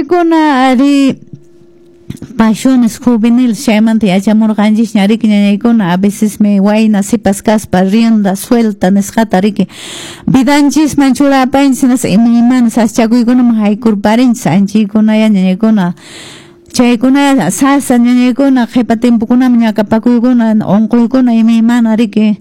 Ñañaykuna, ari, pasiones juveniles chaymanta yachamurqanchisña, riki, ñañaykuna. A vecesmi wayna sipas kaspa rienda suelta nisqata, riki, vidanchisman churapanchis, hinaspa imaymana sasachakuykunaman haykurparinchis. Anchaykunaya, ñañaykuna, chaykuna sasa, ñañaykuna. Qhipa tiempokunaman ñakapakuykuna, unquykuna, imaymana, riki,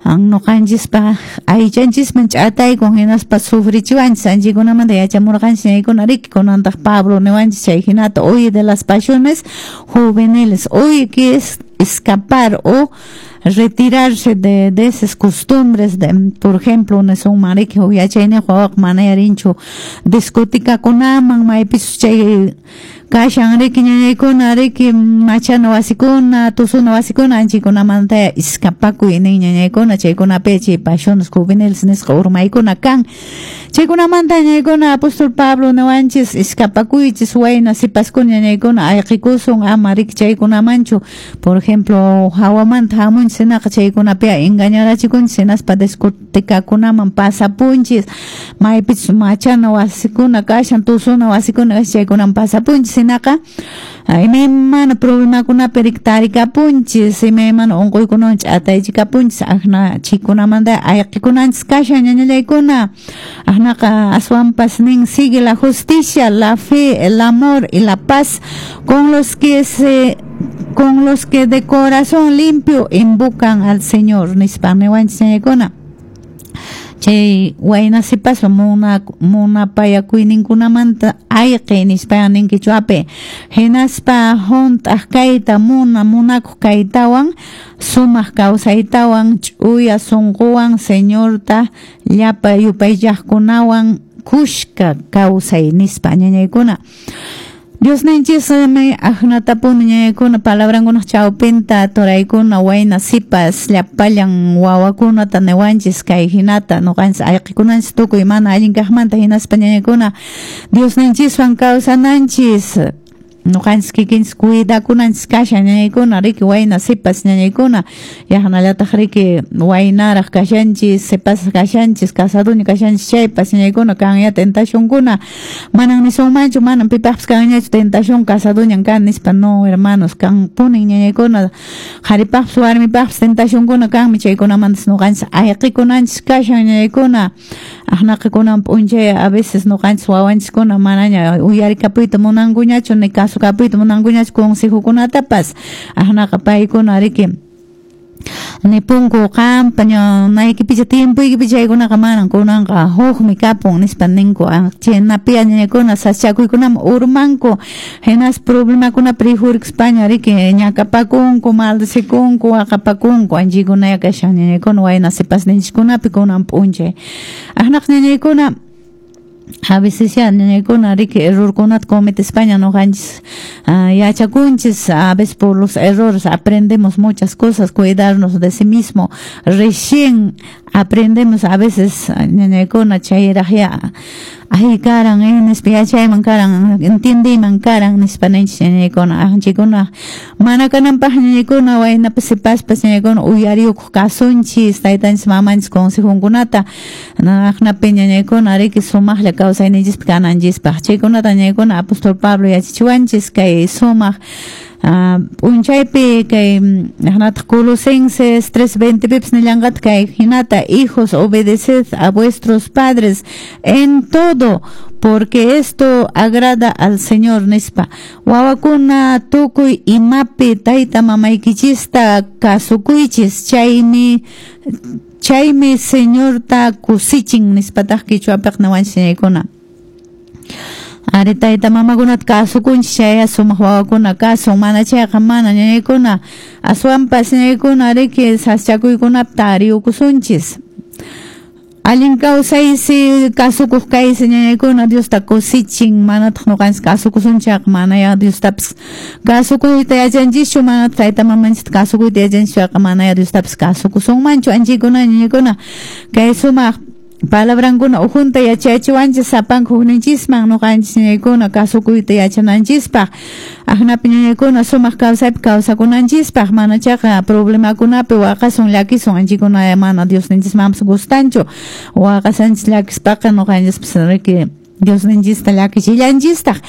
ñuqanchispa aychanchisman ch'ataykun, hinaspa sufrichiwanchis. Anchaykunamanta yachamurqanchis, ñañaykuna, riki. Kunantaq Pablo niwanchis chay hinata: huye de las pasiones juveniles. Huye, que es escapar o retirarse de esas costumbres de, por ejemplo, nisunman, riki, huk yachayniyuq wawaqa mana rinchu discotecakunaman, maypichus chay kashan, riki, ñañaykuna, riki, machana wasikuna, tusuna wasikuna. Anchaykunamanta escapakuy nin, ñañaykuna. Chaykunapi chay pasiones juveniles nisqa urmaykuna kan. Chaykunamanta, ñañaykuna, apóstol Pablo niwanchis: escapakuychis, wayna sipaskuna, ñañaykuna, ayqikusun, ama, riki, chaykunamanchu. Por ejemplo, hawamanta hamunchis, hinaqa chaykunapi engañarachikunchis, hinaspa discotecakunaman pasapunchis, maypichus machana wasikuna kashan, tusuna wasikuna kashan, chaykunaman pasapunchis. Hinaqa imaymana problemakunapi, riki, tarikapunchis, imaymana unquykunawan ch'ataychikapunchis. Akna chaykunamanta ayqikunanchis kashan, ñañallaykuna. Aknaqa aswanpas nin: sigue la justicia, la fe, el amor y la paz con los que de corazón limpio invocan al Señor, nispa niwanchis, ñañaykuna. Chay wayna sipaspa munapayakuyninkunamanta ayqi nispa nin qichwapi. Hinaspa hunt'aq kayta munakuq kaytawan, sumaq kawsaytawan, ch'uya sunquwan Señorta llapa yupaychaqkunawan kushka kawsay nispa, ñañaykuna. Diosninchismi aknatapuni, ñañaykuna, palabrankunaq chawpinta turaykuna, wayna sipas, llapallan wawakunata niwanchis kay hinata: ñuqanchis ayqikunanchis tukuy mana allin kaqmanta, hinaspa, ñañaykuna, Diosninchiswan kawsananchis. Ñuqanchis kikinchis cuidakunanchis kashan, ñañaykuna, riki, wayna sipas, ñañaykuna. Yaqnallataq, riki, waynaraq kashanchis, sipas kashanchis, casadoña kashanchis chaypas, ñañaykuna, kanya tentacionkuna. Manan nisunmanchu manan pipaqpas kanñachu tentación, casadoñan kan nispa. No, hermanos, kanpunin, ñañaykuna. Qharipaqpas warmipaqpas tentacionkuna kanmi. Chaykunamantas ñuqanchis ayqikunanchis kashan, ñañaykuna. Aqnaqa kunan p'unchay a veces ñuqanchis wawanchiskuna manaña uyarikapuyta munankuñachu, ni kasukapuyta munankuñachu consejokunatapas. Aqnaqa paykuna, riki, nipunku: qampa ñanaykipicha, tiempoykipicha chaykunaqa manan, kunanqa hukmi kapun, nispa ninku. Chaynapi, ñañakuna, sasachakuykunaman urmanku, hinaspa problemakunapi rikhurikuspaña, riki, ñakapakunku, maldecikunku, waqapakunku. Anchaykunaya kashan, ñañakuna, wayna sipasninchiskunapi kunan p'unchay. Aqnaqa, ñañaykuna, a veces ya, ñañaykuna, riki, errorkunata cometespaña ñuqanchis yachakunchis. A veces por los errores aprendemos muchas cosas, cuidarnos de sí mismo recién aprendemos a veces, ñañaykuna. Chayraq ya ay karan nispa yachayman karan, entiendiyman karan nispa ninchis, ñañaykuna. Anchaykuna mana kananpaq, ñañaykuna, waynapas sipaspas, ñañaykuna, uyariyukuq kasunchis taytanchis mamanchis consejonkunata. Aqnapi, ñañaykuna, riki, sumaqlla kawsayninchispi kananchispaq. Chaykunata, ñañaykuna, apóstol Pablo yachachiwanchis kay sumaq p'unchaypi. Kay aqnataq Colosenses 3:20 pipas nillanqataq kay hinata: hijos, obedeced a vuestros padres en todo, porque esto agrada al Señor, nispa. Wawakuna, tukuy imapi tayta mamaykichista kasukuychis, chaymi Señorta kusichin, nispataq qichwapiq niwanchis, ñañaykuna. Ari, tayta mamakunata kasukunchis chaya sumaq wawakuna kasun, mana chayqa mana, ñañaykuna. Aswanpas, ñañaykuna, riki, sasachakuykunapi tariyukusunchis. Allin kawsaysi, kasukuq kaysi, ñañaykuna, Diosta kusichin. Manataq ñuqanchis kasukusunchayqa, manaya Diostapas kasukuyta yachanchischu, manataq tayta mamanchista kasukuyta yachanchischu, manaya Diostapas kasukusunmanchu. Anchaykuna, ñañaykuna, kay sumaq palabrankuna ukhunta yachachiwanchis sapanka hukninchisman ñuqanchis, ñañaykuna, kasukuyta yachananchispaq. Aqnapi, ñañaykuna, sumaq kawsaypi kawsakunanchispaq, mana chayqa problemakunapi waqasun, llakisun. Anchaykuna mana Diosninchismanpas gustanchu waqasanchis, llakispaqa ñuqanchispas, riki, Diosninchista llakichillanchistaq.